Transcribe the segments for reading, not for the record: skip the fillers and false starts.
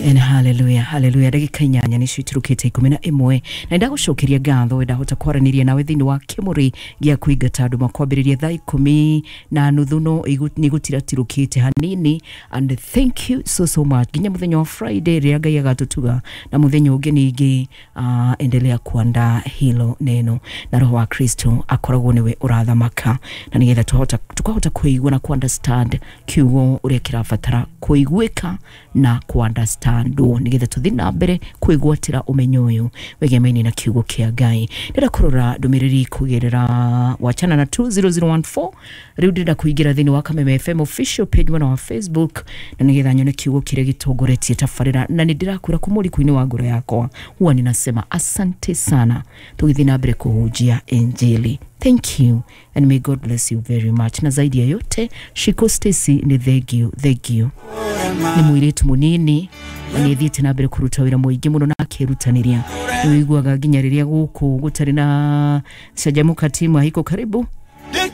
And hallelujah, hallelujah. Ndagĩka 8 nĩcio iturũkĩte 11 na ndagũcokeria ngatho ndahota kwaranĩria nawe thĩinĩ wa kĩmũrĩ gĩa kũingata andũ makwambĩrĩria thaa 10:30 no nĩ gũtiratirũkĩte hanini. And thank you so so much nginya mũthenya wa Friday rĩrĩa Ngai agatũtuga na mũthenya ũngĩ ningĩ. Endelea kuandaa hilo neno na roho wa Kristo akoragwo nĩwe ũrathamaka na nĩgetha tukahota kũigua na ku-understand kiugo ũrĩa kĩrabatara kũiguĩka na ku-understandwo nĩgetha tũthiĩ na mbere kwĩgwatĩra ũmenyo ũyũ wĩgemaine na kiugo kĩa Ngai. Ndĩrenda kũrora ndũmĩrĩri kũgerera wachana na 20014. Rĩu ndĩrenda kũingĩra thĩinĩ wa Kameme FM official page mwena wa Facebook na nĩgetha nyone kiugo kĩrĩa gĩtongoretie tabarĩra, na nĩ ndĩrakwĩra kuma ũriku-inĩ wa ngoro yakwa huwa ninasema asante sana tũgĩthiĩ na mbere kũhunjia Injili. Thank you and may God bless you very much. Na zaidi ya yote, Shiko Stacy ni thank you, thank you. Ni mũirĩtu mũnini na nĩ thiĩte na mbere kũruta wĩra mũingĩ mũno na akĩrutanĩria. Nĩ ũiguaga nginya rĩrĩa gũkũ gũtarĩ na canjamũka timu haiko karibu,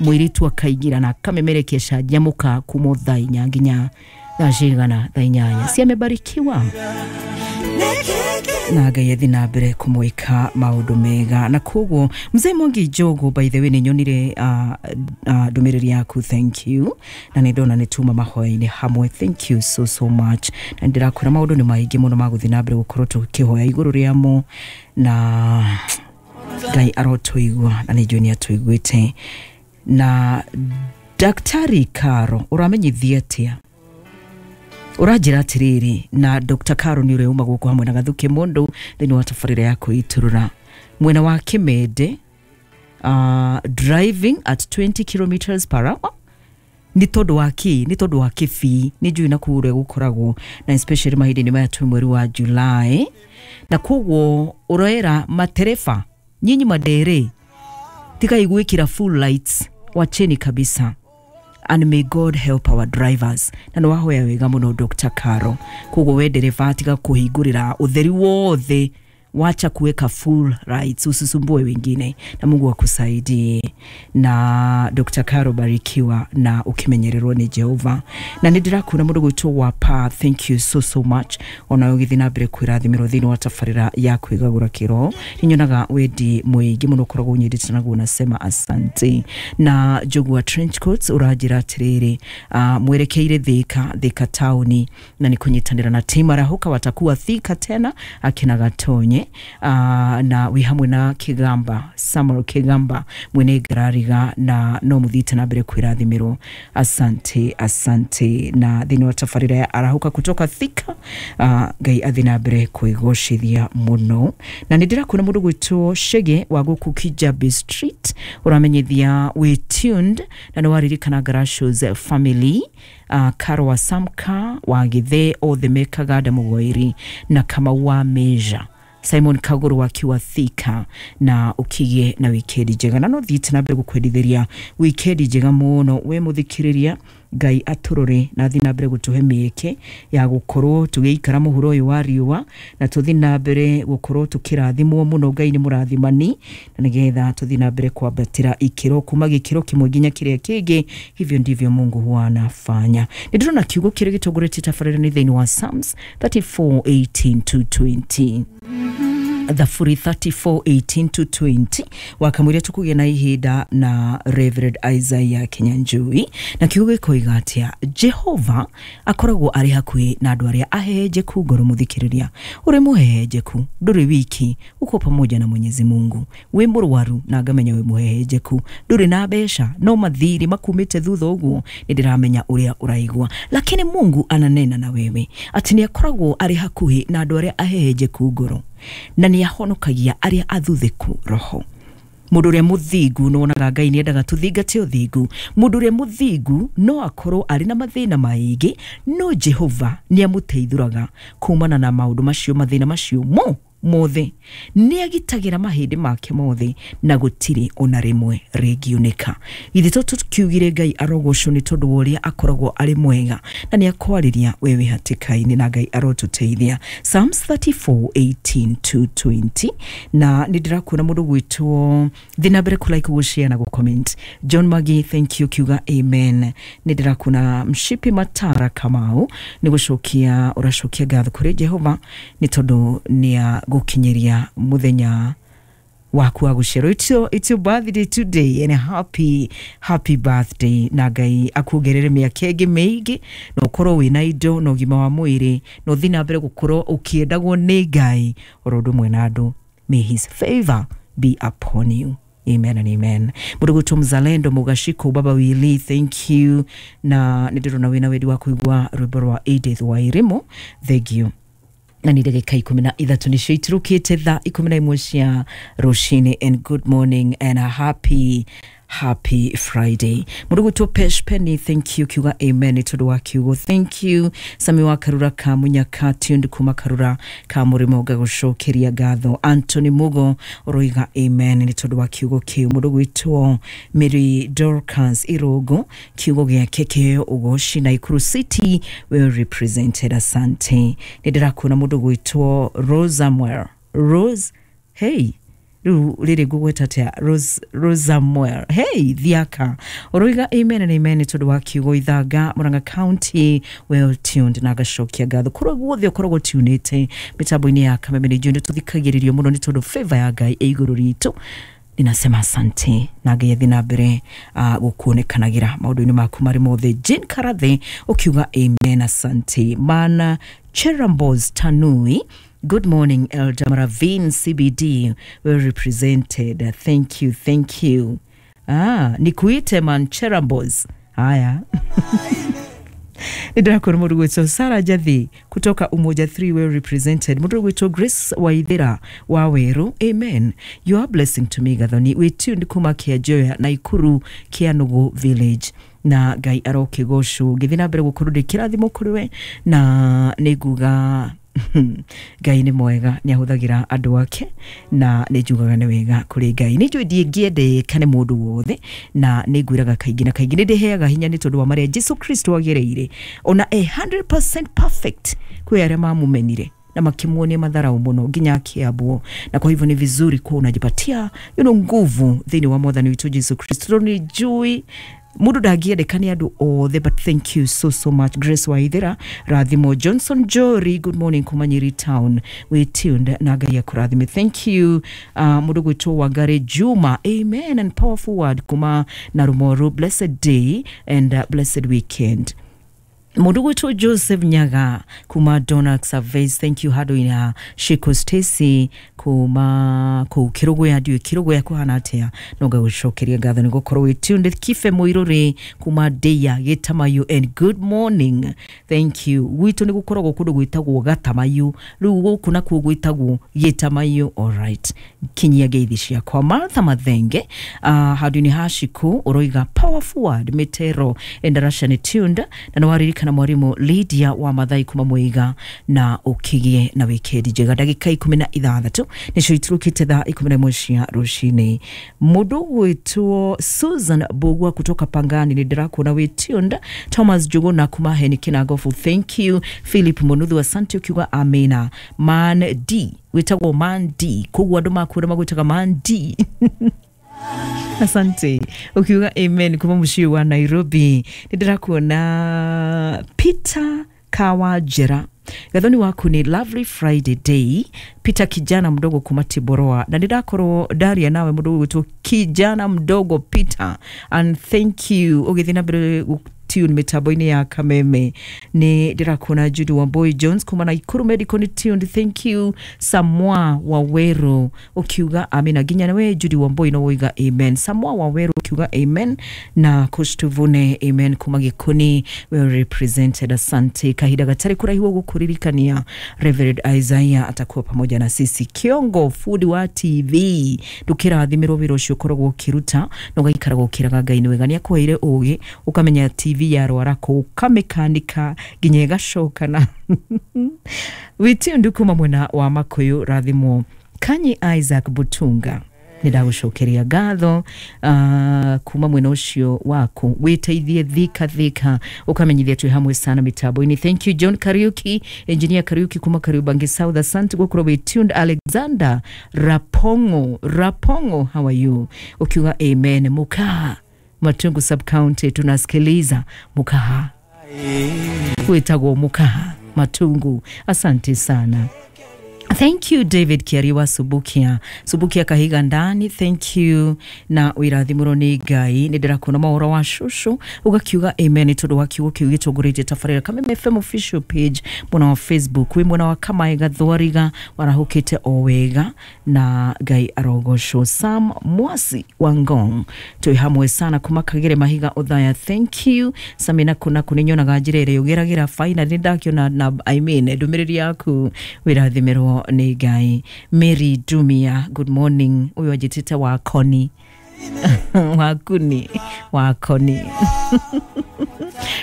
mũirĩtu akaingĩra na akamemerekia canjamũka kuma thaa 4 nginya thaa cigana, thaa 8. Si amebarikiwa na Ngai athi na mbere kũmwĩka maũndũ mega. Na koguo mzee Mwangi Njogu, by the way, nĩ nyonire ndũmĩrĩri yaku, thank you, na nĩ ndona nĩ tuma mahoya-inĩ hamwe, thank you so so much. Na ndĩrakwĩra maũndũ nĩ maingĩ mũno ma gũthiĩ na mbere gũkorwo tũkĩhoya igũrũ rĩamo na Ngai arotũigua na nĩ njũĩ nĩ atũiguĩte. Na Daktari Karo, ũramenyithia atĩa? Ũranjĩra atĩrĩrĩ, na Dr. Karo nĩ ũrĩa uma gũkũ hamwe na Gathuki Mũndũ thĩinĩ wa tabarĩra ya kwĩitũrũra mwena wa Kĩmende, driving at 20 kilometers per hour nĩ tondũ wa kĩ? Nĩ tondũ wa kĩbii. Nĩ njũĩ na kũu ũrĩa gũkoragwo na especially mahinda-inĩ maya twĩ mweri wa July, na koguo ũroera matereba nyinyi madere tigai gwĩkĩra full lights, wacheni kabisa. And may God help our drivers. Na nĩ wahoya wega mũno Dr. Karo. Koguo we ndereba tiga kũhingũrĩra ũtheri wothe, wacha kuweka full lights, usisumbue wengine, na Mungu akusaidie. Na Dr. Karo, barikiwa na ukimenyererwo ni Jehova. Na nĩ ndĩrakuona mũndũ gwĩtwo wa pa, thank you so so much, ona ũgĩthiĩ na mbere kwĩrathimĩrwo thĩinĩ wa tabarĩra ya kwĩgagũra kĩroho. Nĩ nyonaga wendi mũingĩ mũno ũkoragwo ũnyendete naguo, nasema asante. Na Njogu wa trench coats ũranjĩra atĩrĩrĩ, mwerekeire Thika, Thika taũni, na nĩ kũnyitanĩra na team Arahũka watakuwa Thika tena akina Gatonye, na wĩ hamwe na Kigamba, Samuel Kigamba mwene ngarariga, na no mũthiĩte na mbere kwĩrathimĩrwo. Asante, asante. Na thĩinĩ wa tabarĩra ya Arahũka kutoka Thika, Ngai athi na mbere kwĩgocithia mũno. Na nĩ ndĩrakuona mũndũ gwĩtwo Shege wa gũkũ Kijabi Street, ũramenyithia wĩ tuned na nĩ waririkana Garashos family, Karo wa Samka wa Githe othe mekaga Ndamũgoiri na Kamau wa Meja, Simon Kaguru wakiwa Thika, na ukigie na wikendi njega. Na no thiĩte na mbere gũkwendithĩria wikendi njega mũno we mũthikĩrĩria. Ngai atũrore na thiĩ na mbere gũtũhe mĩeke ya gũkorwo tũgĩikara mũhuro ũyũ wa riũa na tũthiĩ na mbere gũkorwo tũkĩrathimwo mũno. Ngai nĩ mũrathimani na nĩgetha tũthiĩ na mbere kwambatĩra ikĩro kuma gĩkĩro kĩmwe nginya kĩrĩa kĩngĩ. Hivyo ndivyo Mungu huwa anafanya. Nĩ ndĩrona kiugo kĩrĩa gĩtongoretie tabarĩra nĩ thĩinĩ wa Psalms 34:18 to 20, Thaburi 34:18 to 20. Wakamwĩra tũkũgĩa na ihinda na Reverend Isaiah Kinyanjui, na kiugo gĩkoiga atĩa? Jehova akoragwo arĩ hakuhĩ na andũ arĩa ahehenjeku ngoro. Mũthikĩrĩria, ũrĩ mũhehenjeku, ndũrĩ wiki, uko pamoja na Mwenyezi Mungu. Wĩ mũrwaru na ngamenya wĩ mũhehenjeku, ndũrĩ na mbeca no mathirĩ makumĩte thutha ũguo, nĩ ndĩramenya ũrĩa ũraigua, lakini Mungu ananena na wewe atĩ nĩ akoragwo arĩ hakuhĩ na andũ arĩa ahehenjeku ngoro na nĩ ahonokagia arĩa athuthĩku roho. Mũndũ ũrĩa mũthingu, nĩwonaga Ngai nĩendaga tũthingate ũthingu. Mũndũ ũrĩa mũthingu no akorwo arĩ na mathĩna maingĩ, no Jehova nĩ amũteithũraga kumana na maũndũ macio, mathĩna macio mo mothe, nĩ agitagĩra mahĩndĩ make mothe na gũtirĩ ona rĩmwe rĩngiunĩka. Githĩ to tũkiugire Ngai arogocwo nĩ tondũ wa ũrĩa akoragwo arĩ mwega na nĩ akwarĩria we wĩ hatĩka-inĩ, na Ngai arotũteithia. Psalms 34:18 to 20. Na nĩ ndĩrakuona mũndũ gwĩtwo thĩ na mbere kũ like, gũ share na gũ comment. John Magi, thank you, kiuga amen. Nĩ ndĩrakuona Mshipi Matara Kamau, nĩ gũcokia ũracokia ngatho kũrĩ Jehova nĩ tondũ nĩ agũkinyĩria mũthenya waku wa gũciarwo. It's your birthday today, and happy happy birthday, na Ngai akuongerere mĩaka ĩngĩ mĩingĩ na ũkorwo wĩna indo na ũgima wa mwĩrĩ na ũthiĩ na mbere gũkorwo ũkĩendagwo nĩ Ngai oro ũndũ ũmwe na andũ. May his favor be upon you. Amen and amen. Mũndũ gwĩtwo Mzalendo Mugashiko Baba Wili, thank you. Na nĩ ndĩrona wĩna wendi wa kũigua rwĩmbo rwa Edith Wairimu, thank you. Na nĩ ndagĩka 13 nĩcio itirũkĩte thaa 11 cia rũcinĩ, and good morning and a happy happy Friday. Mũndũ gwĩtwo Pesh Penny, thank you, kiuga amen nĩ tondũ wa kiugo, thank you. Sami wa Karura ka Munyaka, tuned kuma Karura ka Mũrĩmo, ngagũcokeria ngatho. Anthony Mugo ũroiga amen nĩ tondũ wa kiugo kĩu. Mũndũ gwĩtwo Mary Dorcas Irogo, kiugo gĩake kĩheo ũgoci. Naikuru City well represented, asante. Nĩ ndĩrakuona mũndũ gwĩtwo Rosamwell Rose, hey, rĩu rĩrĩ ngũgweta atĩa? Rose, Rosamuel, hey, thiaka ũroiga amen and amen nĩ tondũ wa kiugo. Ithanga, Murang'a County well tuned, na ngacokia ngatho kũrĩa guothe ũkoragwo tunĩte mĩtambo-inĩ ya Kameme. Nĩ njũĩ nĩ tũthikagĩrĩrio mũno nĩ tondũ favor ya Ngai ĩ igũrũ ritũ. Ninasema asante na Ngai athi na mbere gũkuonekanagĩra maũndũ-inĩ maku marĩ mothe. Jane Karathe ũkiuga amen, asante. Mana Cherambos Tanui, good morning, Elder Maravin CBD, well represented. Thank you, thank you. Ah, nikuite man Cherambos. Haya. Nĩndĩrakuona mũndũ gwĩtwo Sara Jathi kutoka Umoja 3, well represented. Mũndũ gwĩtwo Grace Waithera wa Weru, amen. You are blessing to me, Gathoni. We tuned kuma Kĩanjoya, Naikuru, Kianugu village, na Ngai arokĩgocwo. Ngĩthiĩ na mbere gũkorwo ndĩ kĩrathimo kũrĩ we, na nĩ nguga Ngai nĩ mwega, nĩ ahũthagĩra andũ ake, na nĩ njugaga nĩ wega kũrĩ Ngai. Nĩ njũĩ ndingĩendeka nĩ mũndũ wothe, na nĩ ngwĩraga kaingĩ na kaingĩ nĩ ndĩheaga hinya nĩ tondũ wa marĩa Jesu Kristo agereire. Ona e 100% perfect, kwĩ arĩa mamumenire na makimuonia madharau mũno nginya akĩambwo. Na kwa hivyo ni vizuri kuwa unajipatia nguvu thĩinĩ wa mwathani witũ Jesu Kristo, tondũ nĩ njũĩ mundu ndangĩendeka nĩ andũ othe. But thank you so so much, Grace Waithera. Rathimo Johnson Jory, good morning kuma Nyeri town, we tuned na Ngai akũrathime, thank you. Mũndũ gwĩtwo Wangari Juma, amen and powerful word kuma Narumoru, blessed day and blessed weekend. Mũndũ gwĩtwo Joseph Nyaga kuma Donax Surveys, thank you. Handũ-inĩ Shiko Stacy kuma kũu Kĩrũgũya, ndiũĩ Kĩrũgũya kũhana atĩa, no ngagũcokeria ngatho nĩ gũkorwo wĩ tuned. Kibe Mũirũrĩ kuma Ndeia Gĩtamayu, and good morning, thank you. Gwitũ nĩ gũkoragwo kũndũ gwĩtagwo Gatamayu, rĩu gũkũ nakuo gwĩtagwo Gĩtamayu. Alright, kinyia ngeithi ciakwa. Martha Mathenge, handũ-inĩ ha Shiko ũroiga powerful word. Mĩtero endarasha nĩ tuned, na nĩ waririkana mwarimũ Lydia wa Mathai kuma Mũiga, na ũkĩgĩe na wikendi njega. Ndagĩka 16 nĩcio iturũkĩte thaa 11 cia rũcinĩ. Mũndũ gwĩtwo Susan Bogwa kutoka Pangani, nĩ ndĩrakuona wĩ tuned. Thomas Njuguna kuma Heni Kinagofu, thank you. Philip Munuthu, asante, ukiuga amina. Man D, wĩtagwo Man D, koguo andũ makuona magwĩtaga Man D, asante, ukiuga amen kuma mũciĩ wa Nairobi. Nĩ ndĩrakuona Peter Kawajera, gathoni waku ni lovely Friday day. Peter kijana mdogo kuma Tiboroa, na ndĩrakorwo ndaria nawe mũndũ ũgwĩtwo kijana mdogo Peter, and thank you ũgĩthiĩ na mbere tune mitambo-inĩ ya Kameme. Nĩ ndĩrakuona Judy Wamboi Jones kuma Naikuru Medical nĩ tuned, thank you. Samwa Waweru ukiuga amina, nginya nawe Judy Wamboi no woiga amen. Samwa Waweru ukiuga amen, na Coach Tuvune, amen kuma Gĩkũni, well represented, asante. Kahinda gatarĩ kũraihu gũkũririkania Reverend Isaiah atakuwa pamoja na sisi. Kiongo fundi wa TV, ndũkĩrathimirwo wĩra ũcio ũkoragwo ũkĩruta na ũgaikaraga ũkĩraga Ngai nĩ wega nĩ akũheire ũgĩ ũkamenya TV. TV yarwara kũ ũkamĩkanika nginya ĩgacoka na wĩtundu kuma mwena wa Makuyu rathimwo. Kanyi Isaac Butunga, nĩ ndagũcokeria ngatho kuma mwena ũcio waku wĩteithie thika thika ũkamenyithia twĩ hamwe sana mitambo-inĩ. Thank you John Kariuki, engineer Kariuki kuma Kariubangi South, asante gũkorwo wĩ tuned. Alexander Rapongo, Rapongo, how are you? Ukiuga amen. Mukaa Matungu sub county tunasikiliza Mukaha, wĩtagwo Mukaha Matungu, asante sana. Thank you David Kiariwa Subukia, Subukia Kahiga ndani, thank you na wĩrathimũrwo nĩ Ngai. Nĩ ndĩrakuona maũhoro wa cũcũ ũgakiuga amen nĩ tondũ wa kiugo kĩu gĩtongoretie tabarĩra Kameme FM official page mwena wa Facebook. Wĩ mwena wa Kamae Gathwariga warahũkĩte o wega na Ngai arogocwo. Sam Mwasi wa Ngong, twĩ hamwe sana kuma Kagere Mahiga Othaya, thank you Samina. Kuna kũ nyonaga njĩra ĩrĩa ũgeragĩra finally nĩ ndakĩona na I mean ndũmĩrĩri yaku, wĩrathimĩrwo nĩ Ngai. Mary Dumia, good morning. Ũyũ anjĩtĩte wakoni wakuni wakoni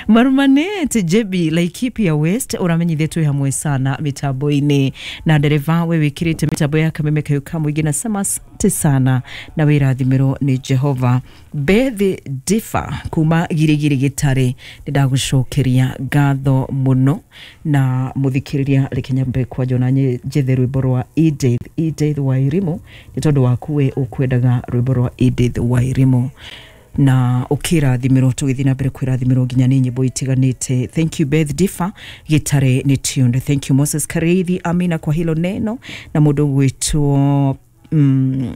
marumanete Jebi Laikipia West, ũramenyithia twĩ hamwe sana mitambo-inĩ na ndereva we wĩkĩrĩte mitambo ya Kameme kayo ka mũingĩ, nasema asante sana na wĩrathimĩrwo nĩ Jehova. Beth Difa kuma Girigiri Gĩtarĩ, nĩ ndagũcokeria ngatho mũno na mũthikĩrĩria. Reke nyambe kwanja ona njethe rwĩmbo rwa Edith, Edith Wairimu, nĩ tondũ waku we ũkwendaga rwĩmbo rwa Edith Wairimu na ũkĩrathimĩrwo, tũgĩthiĩ na mbere kwĩrathimĩrwo nginya nĩ nyĩmbo itiganĩte. Thank you Beth Difa Gĩtare nĩ tuned. Thank you Moses Kareithi, amina kwa hilo neno. Na mũndũ gwĩtwo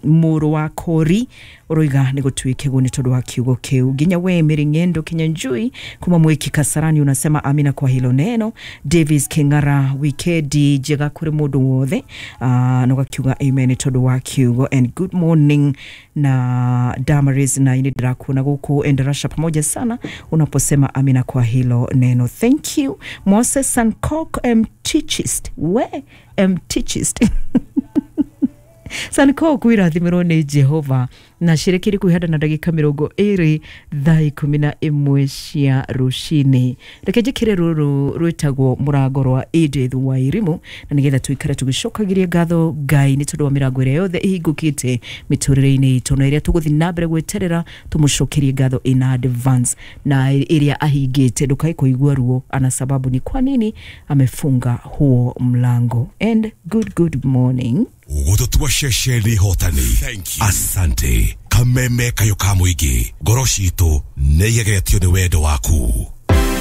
mũrũ wa kori ũroiga nĩ gũtuĩke nĩ tondũ wa kiugo kĩu. Nginya we Mary Ng'endo Kinyanjui kuma Mwiki Kasarani unasema amina kwa hilo neno. Davis King'ara, wikendi njega kũrĩ mũndũ wothe, na ũgakiuga amen nĩ tondũ wa kiugo and good morning. Na Damaris na ini ndĩrakuona gũkũ Endarasha, pamoja sana unaposema amina kwa hilo neno, thank you. Moses Sankok Mtichist, we Mtichist Sanko kwĩrathimĩrwo nĩ Jehova na cirekire kwĩhanda na ndagĩka 20 thaa 11 cia rũcinĩ. Reke njĩkĩre rũrũ rwĩtagwo mũrango rwa Edith Wairimu na nĩgetha tũikare tũgĩcokagĩria ngatho Ngai nĩ tondũ wa mĩrango ĩrĩa yothe ĩhingũkĩte mĩtũrĩre-inĩ itũ na ĩrĩa tũgũthiĩ na mbere gweterera tũmũcokerie ngatho in advance, na ĩrĩa ahingĩte ndũkae kũigua ruo ana sababu ni kwa nini amefunga huo mlango. And good good morning. Gũtũtua ceceni hotani. Asante Kameme kayo ka mũingĩ, ngoro citũ nĩ igegetio nĩ wendo waku.